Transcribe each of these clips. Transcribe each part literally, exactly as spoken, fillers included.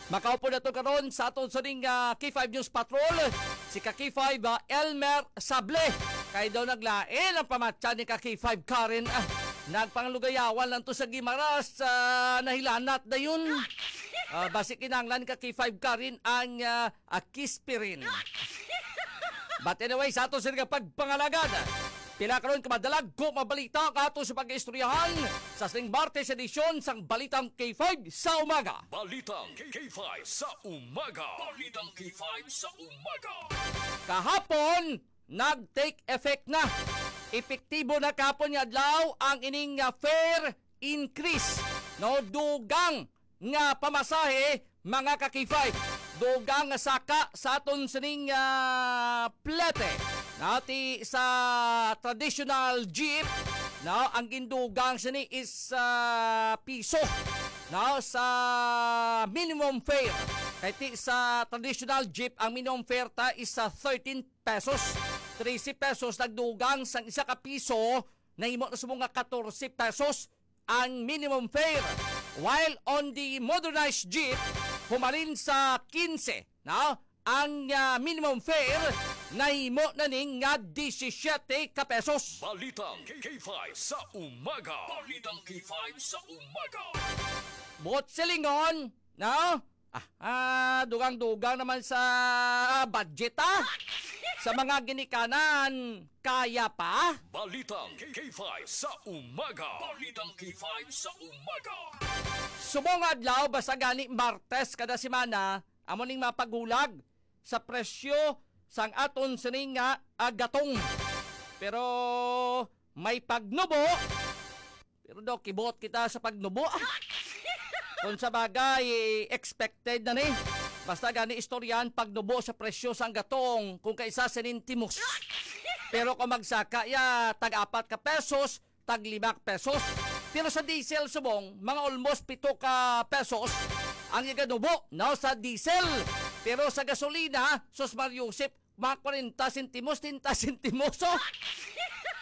Makaupo na to karon sa aton sining, ah, K five News Patrol, si ka K five, ah, Elmer Sable. Kay daw naglain ang pamatya ni ka K five Karen. Ah, nagpanglugayawan lang to sa Guimaras, ah, nahilanat dayon. Ah, basi kinahanglan ka K five Karen ang, ah, ah, kispirin. But anyway, sa ato sila pagpangalagad, pila karon ka madalagko mabalita ka ato sa pag-istoryahan sa sining Martes edisyon sang Balitang K five sa umaga. Balitang K five sa umaga. Balitang K five sa umaga. Kahapon, nag-take effect na. Epektibo na kahapon nga adlaw ang ining, ah, fare increase. No, dugang nga pamasahe, mga ka-K five. Dugang nga saka sa aton sining, ah, plete. Nati sa traditional jeep, no, ang gindugang sini is, ah, piso, no, sa minimum fare. Kay ti sa traditional jeep, ang minimum fare ta is sa thirteen pesos. Trese pesos nagdugang sang isa ka piso, nahimo na subong nga katorse pesos ang minimum fare. While on the modernized jeep, humalin sa kinse, no? Ang, ah, minimum fare nahimo na ning nga disisiete ka pesos. Balitang K five sa umaga. Balitang K five sa umaga. Buot silingon, no? Ah, ah, dugang-dugang naman sa budget, ah. Sa mga ginikanan, kaya pa? Balitang K five sa umaga. Balitang K five sa umaga. Subong adlaw, basta gani Martes kada semana, amo ning mapaghulag sa presyo sang aton sining nga, ah, gatong. Pero may pagnubo. Pero daw, kibuot kita sa pagnubo. Kung sa bagay, expected na ni. Basta gani istoryan, pagnubo sa presyo sang gatong kung kaisa sinintimos. Pero kung magsaka ya, tag apat ka pesos, tag lima ka pesos. Pero sa diesel subong, mga almost pito ka pesos ang iganubo, no, sa diesel. Pero sa gasolina, sus Mario Josep, mga kwarenta sentimos, treinta sentimos, oh.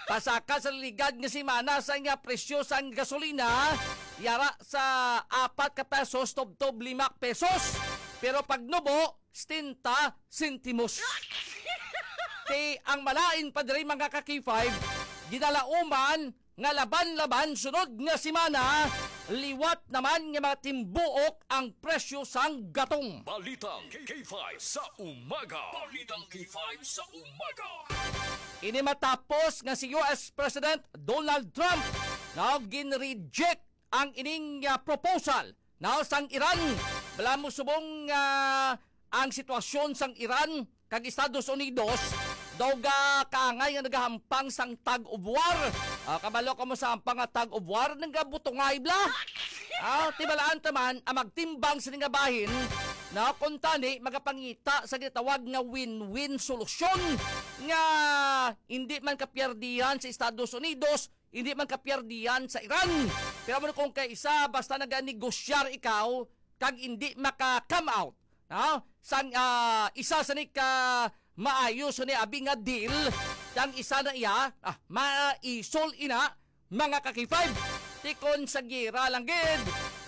Pasaka sa ligad nga semana sa nga presyo sang gasolina, yara sa apat ka pesos, tubtob lima pesos. Pero pagnubo, setenta sentimos. Ti ang malain pa diri, mga ka-K five, ginalauman nga laban-laban sunod nga semana, liwat naman nga mga timbuok ang presyo sang gatong. Balitang K five sa umaga. Balitang K five sa umaga. Ini matapos nga si U S President Donald Trump na ginreject ang ining, ah, proposal na sang Iran. Bala mo subong, ah, ang sitwasyon sang Iran kag Estados Unidos daw ga kaangay nga nagahampang sang tug of war. Ah, kabalo ka mo sa hampang nga tug of war, nagabutungay bla. Ah, tibalaan ta man ang magtimbang sa nga bahin na kuntani magapangita sa gitawag nga win-win solusyon nga hindi man kapiyerdihan sa Estados Unidos, hindi man kapiyerdihan sa Iran. Pero mo kung kaisa, basta naganegosyar ikaw, kag hindi maka-come out, no? Sang, ah, isa sa ni ka maayo sa ni abi nga deal, ang isa na iya, ah, maisol ina, mga ka-K five. Tikon sa gira lang gid,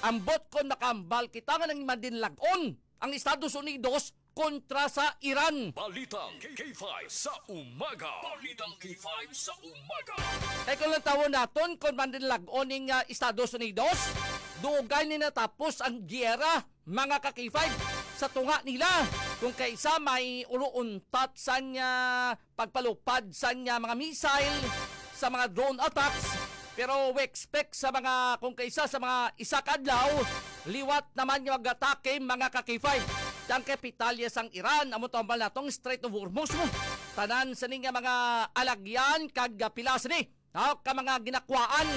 ambot kon makambal kita nga nang madinlagon ang Estados Unidos kontra sa Iran. Balitang K five sa umaga. Balitang K five sa umaga. Kay kung lang tawon naton, kung mandinlag-on ning, ah, Estados Unidos, dugay ni natapos ang giyera, mga ka-K five, sa tunga nila. Kung kaisa may ulo untat sang, ah, pagpalupad sang, ah, mga missile, sa mga drone attacks. Pero we expect sa mga, kung kaisa sa mga isa ka adlaw, liwat naman nga mag-atake, mga ka-K five. Ang kapitalya sang Iran, amo to ang natong Strait of Hormuz mo. Tanan sa ni nga mga alagyan kag pila sa ni, no, ka mga ginakwaan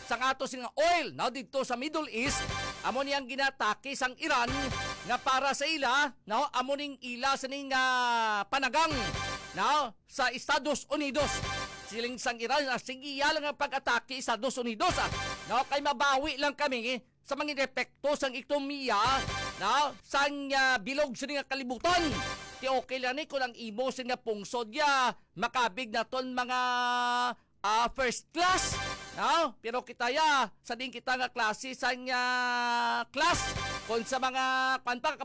sang ato sing oil, no, didto sa Middle East, amo ni ang ginatake sang Iran nga para sa ila, no, amo ning ila sa ni nga panagang, no, sa Estados Unidos. Siling sang Iran, ah, sige, iya lang ang pag-atake Estados Unidos, ah. No, kay mabawi lang kami sa mga epekto sang ekonomiya, no, sang, ah, bilog sa nga kalibutan. Ti okay lang ni kung ang imo sa nga pungsod ya makabig naton mga, ah, first class, no? Pero kita ya, sa din kita nga klase sang, ah, class, kung sa mga, kwan pa,